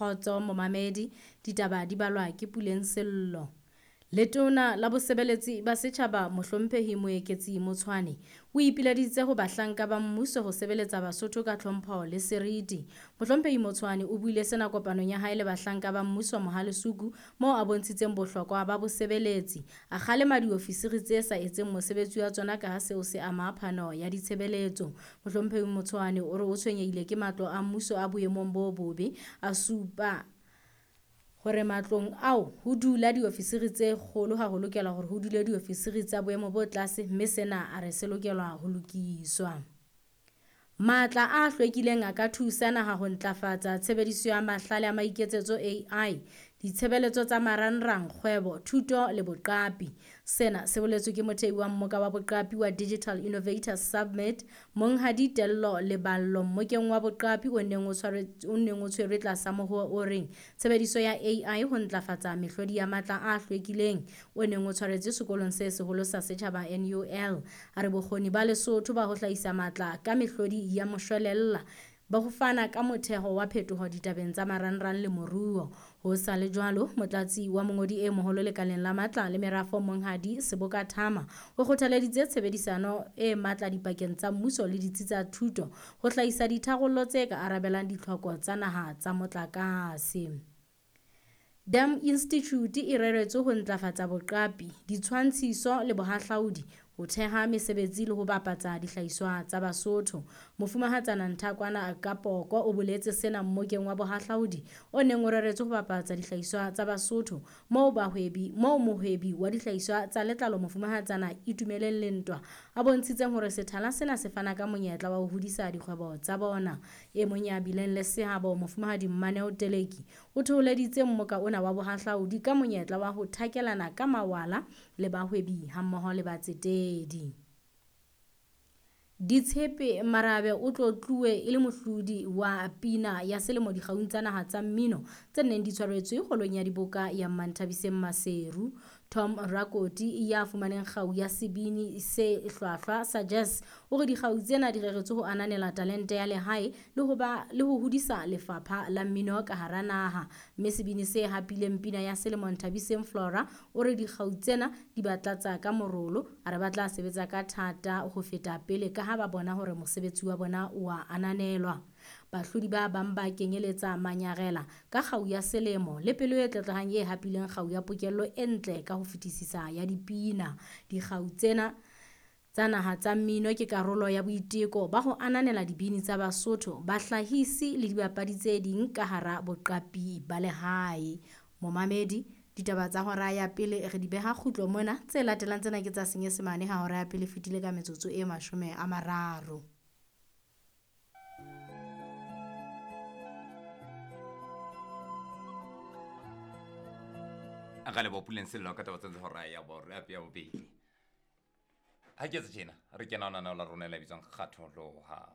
Kgotso momamedi, ditaba di balwa ke Puleng Sello. Letona la Bosebeletsi ba Setjhaba Mohlomphehi Moeketsi Motshwane o ipileditse ho bahlanka ba mmuso ho sebeletsa Basotho ka tlhompho le seriti. Mohlomphehi Motshwane o buile sena kopanong ya hae le bahlanka ba mmuso Mohalesuku moo a bontshitseng bohlokwa ba bosebeletsi. A kgalema diofisiri tse sa etseng mosebetsi wa tsona ka ha seo se ama phano ya ditshebeletso. Mohlomphehi Motshwane o re o tshwenyehile ke matlo a mmuso a boemong bo bobe, a supa hore matlong ao ho dula diofisiri tse kgolo ha ho lokela hore ho dule diofisiri tsa boemo bo tlase mme sena a re se lokelwa ho lokiswa. Matla a hlwekileng a ka thusa naha ho ntlafatsa tshebediso ya mahlale a maiketsetso AI, ditshebeletso tsa marangrang, kgwebo, thuto le boqapi. Sena se boletswe ke mothehi wa mmoka wa boqapi wa Digital Innovators Summit, Monghadi Tello Leballo mmokeng wa boqapi o neng o o neng o tshwerwe tlasa mohoo o reng tshebediso ya AI ho ntlafatsa mehlodi ya matla a hlwekileng o neng o tshwaretswe sekolong se seholo sa setjhaba NUL. A re bokgoni ba Lesotho ba ho hlahisa matla ka mehlodi ya moshwelella ba ho fana ka motheho wa phetoho ditabeng tsa marangrang le moruo. Ho sa le jwalo, motlatsi wa mongodi e moholo lekaleng la matla le merafo Monghadi Seboka Thama o kgothaleditse tshebedisano e matla dipakeng tsa mmuso le ditsi tsa thuto ho hlahisa ditharollo tse ka arabelang ditlhoko tsa naha tsa motlakase. Dam Institute e reretswe ho ntlafatsa boqapi, ditshwantshiso le bohahlaudi, ho theha mesebetsi le ho bapatsa dihlahiswa tsa Basotho. Mofumahatsana Nthakwana Kapoko o boletse sena mmokeng wa bohahlaudi o neng o reretswe ho bapatsa dihlahiswa tsa Basotho moo bahwebi moo mohwebi wa dihlahiswa tsa letlalo Mofumahatsana Itumeleng Lentwa a bontshitseng hore sethala sena se fana ka monyetla wa ho hodisa dikgwebo tsa bona. E mong ya bileng le seabo Mofumahadi Mmaneo Teleki o thoholeditse mmoka ona wa bohahlaudi ka monyetla wa ho thakelana ka mawala le bahwebi hammoho le batsetedi. Ditshepe Marabe o tlotluwe e le mohlodi wa pina ya selemo dikgaung tsa naha tsa mmino tse neng di tshwaretswe holong ya diboka ya Mmanthabiseng Maseru. Tom Rakoti ya fumaneng kgau ya sebini se hlwahlwa sa jazz o re dikgau tsena di reretswe ho ananela talente ya lehae le ho ba le ho hodisa lefapha la mmino ka hara naha. Mme sebini se hapileng pina ya selemo Nthabiseng Flora o re dikgau tsena di ba tlatsa ka morolo, a re ba tla sebetsa ka thata ho feta pele ka ha ba bona hore mosebetsi wa bona o a ananelwa. Bahlodi ba bang ba kenyeletsa Manyarela ka kgau ya selemo le pelo e tlotlehang e hapileng kgau ya pokello e ntle ka ho fetisisa ya dipina. Dikgau tsena tsa naha tsa mmino ke karolo ya boiteko ba ho ananela dibini tsa Basotho, bahlahisi le dibapadi tse ding ka hara boqapi ba lehae. Momamedi, ditaba tsa hora ya pele re di beha kgutlo mona. Tse latelang tsena ke tsa Senyesemane ha hora ya pele fetile ka metsotso e 30. A ka leboha Puleng Sello ka taba tsa hora ya ya bobedi. Ha ke tse tjena re kena ho lenaneo la rona le bitswang Kgatholoha.